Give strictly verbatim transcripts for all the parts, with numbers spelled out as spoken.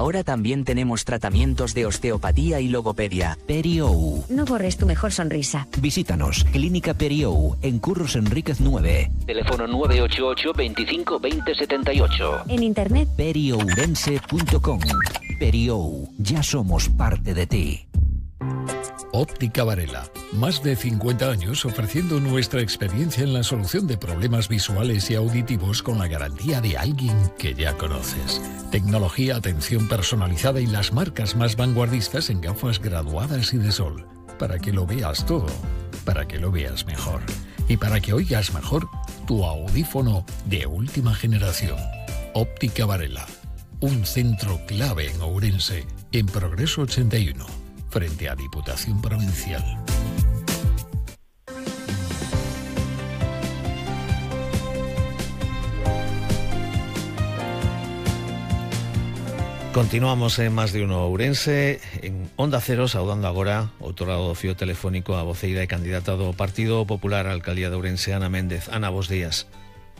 Ahora también tenemos tratamientos de osteopatía y logopedia. Periou. No borres tu mejor sonrisa. Visítanos, Clínica Periou, en Curros Enríquez nueve. Teléfono nueve ocho ocho, veinticinco, veinte, setenta y ocho. En internet, periourense punto com. Periou, ya somos parte de ti. Óptica Varela. Más de cincuenta años ofreciendo nuestra experiencia en la solución de problemas visuales y auditivos con la garantía de alguien que ya conoces. Tecnología, atención personalizada y las marcas más vanguardistas en gafas graduadas y de sol. Para que lo veas todo, para que lo veas mejor. Y para que oigas mejor tu audífono de última generación. Óptica Varela. Un centro clave en Ourense, en Progreso ochenta y uno. Frente a Diputación Provincial. Continuamos en Más de Uno Ourense, en Onda Cero, saudando agora outro lado do fío telefónico a voceira e candidata do Partido Popular á Alcaldía de Ourense, Ana Méndez. Ana, bos días.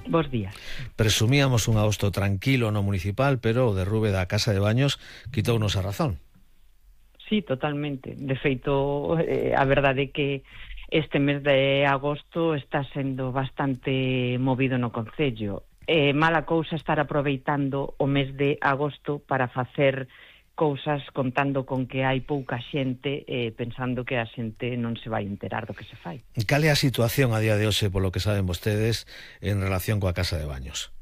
Bos días. Presumíamos un agosto tranquilo no municipal, pero o derrube da Casa de Baños quitounos a razón. Sí, totalmente. De feito, eh, a verdade é que este mes de agosto está sendo bastante movido no concello. É eh, mala cousa estar aproveitando o mes de agosto para facer cousas contando con que hai pouca xente, eh, pensando que a xente non se vai enterar do que se fai. Cal é a situación a día de hoxe, polo que saben vostedes, en relación coa Casa de Baños?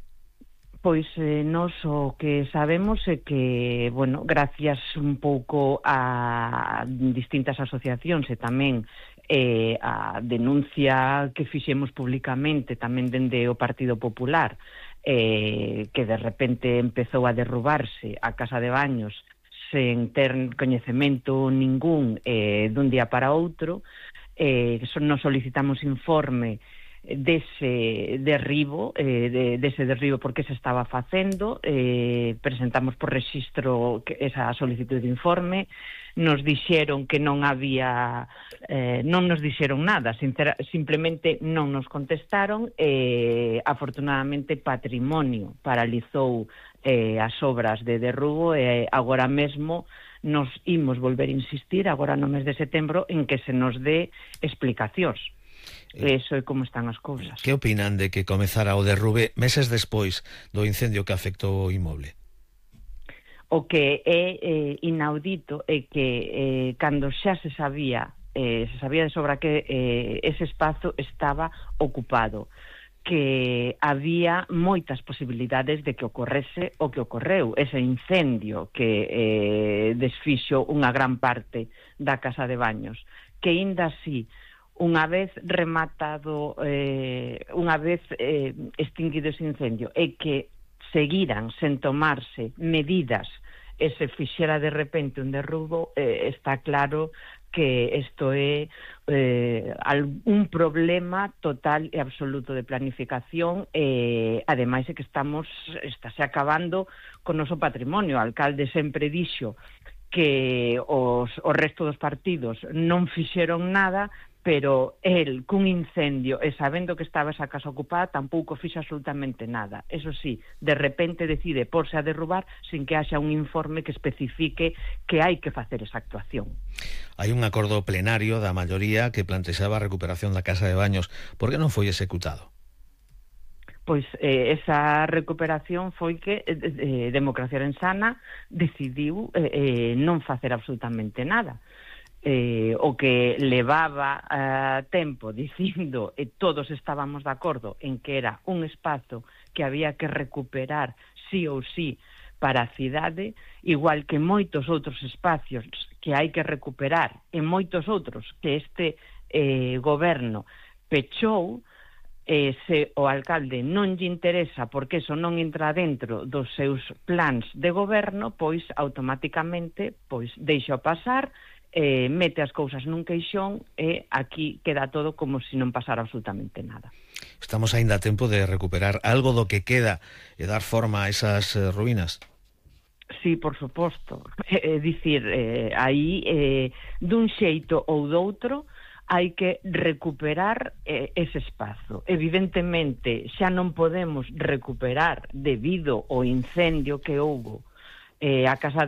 Pois eh, nos o que sabemos é que, bueno, gracias un pouco a distintas asociacións e tamén eh, a denuncia que fixemos públicamente tamén dende o Partido Popular, eh, que de repente empezou a derrubarse a Casa de Baños sen ter coñecemento ningún eh, dun día para outro, eh, nos solicitamos informe dese derribo, eh, de, dese derribo porque se estaba facendo, eh, presentamos por rexistro esa solicitud de informe, nos dixeron que non había, eh, non nos dixeron nada, sincera, simplemente non nos contestaron, e eh, afortunadamente Patrimonio paralizou eh, as obras de derrubo e eh, agora mesmo nos imos volver a insistir agora no mes de setembro en que se nos dé explicacións. Eso é como están as cousas. Que opinan de que comezara o derrube meses despois do incendio que afectou o inmoble? O que é eh, inaudito é que eh, cando xa se sabía eh, se sabía de sobra que eh, ese espazo estaba ocupado, que había moitas posibilidades de que ocorrese o que ocorreu, ese incendio que eh, desfixo unha gran parte da Casa de Baños, que inda así unha vez rematado, eh, unha vez eh, extinguido ese incendio, e que seguiran sen tomarse medidas e se fixera de repente un derrubo, eh, está claro que isto é eh, un problema total e absoluto de planificación, e eh, ademais é que estamos, estáse acabando con o noso patrimonio. O alcalde sempre dixo que os, o resto dos partidos non fixeron nada, pero el, cun incendio e sabendo que estaba esa casa ocupada, tampouco fixo absolutamente nada. Eso sí, de repente decide porse a derrubar sin que haxa un informe que especifique que hai que facer esa actuación. Hai un acordo plenario da maioría que plantexaba a recuperación da Casa de Baños. Por que non foi executado? Pois eh, esa recuperación foi que eh, Democracia Orensana decidiu eh, eh, non facer absolutamente nada. Eh, o que levaba uh, tempo dicindo, e todos estábamos de acordo en que era un espazo que había que recuperar sí ou sí para a cidade, igual que moitos outros espacios que hai que recuperar e moitos outros que este eh, goberno pechou, eh, se o alcalde non lle interesa porque eso non entra dentro dos seus plans de goberno, pois automáticamente pois deixa pasar, eh, mete as cousas nun queixón e aquí queda todo como se non pasara absolutamente nada. Estamos aínda a tempo de recuperar algo do que queda e dar forma a esas eh, ruínas? Sí, por suposto. É eh, dicir, eh, aí eh, dun xeito ou doutro hai que recuperar eh, ese espazo. Evidentemente, xa non podemos recuperar debido ao incendio que houbo eh, a Casa de